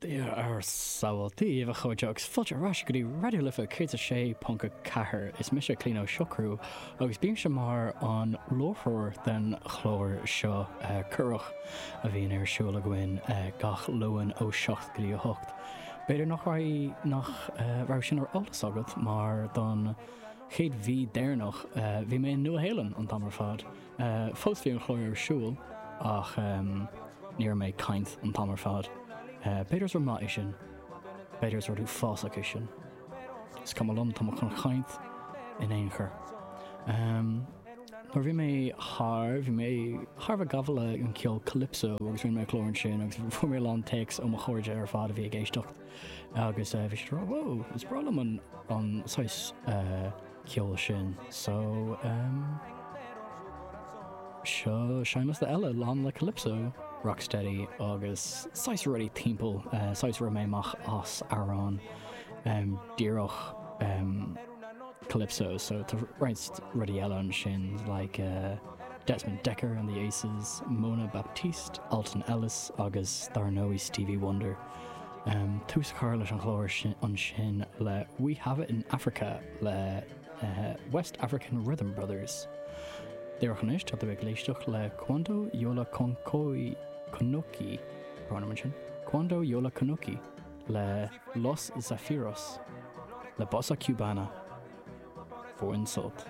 Dia ár sábháil, Dia daoibh a chairde agus fáilte ar ais go dtí Raidió Life 106.4. Is mise Clíona Ó Siochrú agus bímse mar an láithreoir den chlár seo corrach a bhíonn ar siúl againn gach Luan ó 7 go dtí 8. B'fhéidir nach raibh nach raibh sin ar eolas agat mar don chéad mhí deireanach bhí mé i Nua Shéalainn an t-am ar fad. Fós bhí an clár ar siúl ach ní raibh mé ag caint an t-am ar fad. B'fhéidir is rud maith é sin. B'fhéidir is rud uafásach é sin. Is cuma liom, tá mé chun caint in aon chor. Nuair a bhí mé thar, bhí mé thar a bheith gafa le an ceol calypso agus rinne mé clár ansin agus fuair mé a lán téacs ó mo chairde ar fad a bhí ag éisteacht agus bhí siad ag rá, Whoa, is breá liom an, an saghas ceol sin. So, um, seo seinnliosta eile lán le calypso, rocksteady agus saghas rudaí timpeall, uh, saghas rith mé amach as amhráin um, díreach um, calypso, so tá roinnt rudaí eile ansin like uh, Desmond Dekker and the Aces, Mona Baptiste, Alton Ellis agus dar ndóigh Stevie Wonder. Tús a chur leis an chlár ansin le We Have It in Africa le West African Rhythm Brothers. Díreach anois tá tú ag éisteacht le Cuando Yo La Concoí Conocí, brón orm ansin, Cuando Yo La Conocí le Los Zafiros le Bossa Cubana. Bain sult.